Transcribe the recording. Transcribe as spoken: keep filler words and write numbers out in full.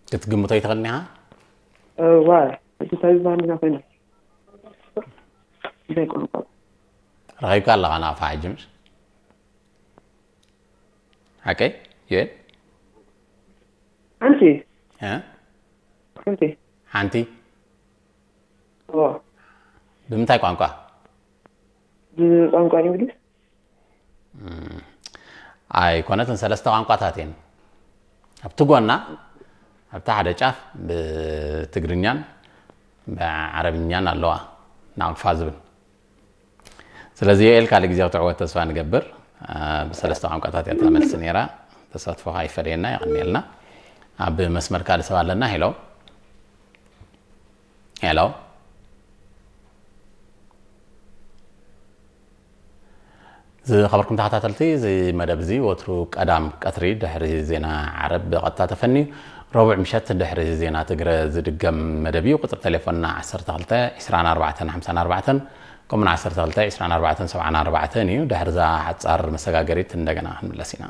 ክትግምቶ ይትኽእልኒ ኢኻ? እዋ፣ እጅ ታይዛንና ኮይና። እንታይ ቋንቋ? ረኺብካ ኣለኻ ናፋ ሕጂ ምሽ? ሓቀይ? ዩኤል? ሓንቲ። እ? ሓንቲ። ሓንቲ? እዋ። ብምንታይ ቋንቋ? ብቋንቋ እንግሊዝ። እም፣ ኣይኮነትን፣ ሰለስተ ቋንቋታት እየን። ኣብቲ ጎና፣ ኣብቲ ሓደ ጫፍ ብትግርኛን ብዓረብኛን ኣለዋ፣ ናቅፋ ዝብል። ስለዚ ዮኤል ካልእ ግዜ ክትዕወት ተስፋ ንገብር። አ፣ ብሰለስተ ቋንቋታት እያ እታ መልሲ ነይራ። ተሳትፎኻ ይፈለየና፣ የቐንየልና። ኣብ መስመር ካልእ ሰብ ኣለና። ሄሎ። ሄሎ። ዝኸበርኩም ተኸታተልቲ፣ እዚ መደብ እዚ ወትሩ ቀዳም ቀትሪ ድሕሪ ዜና ዓረብ ብቐጥታ ተፈንዩ፣ ረቡዕ ምሸት ድሕሪ ዜና ትግረ ዝድገም መደብ እዩ። ቁጽሪ ቴሌፎንና ዓሰርተ ክልተ ዕስራን ኣርባዕተን ሓምሳን ኣርባዕተን፣ ከምኡውን ዓሰርተ ክልተ ዕስራን ኣርባዕተን ሰብዓን ኣርባዕተን እዩ። ድሕርዛ ሓጻር መሰጋገሪት እንደገና ክንምለስ ኢና።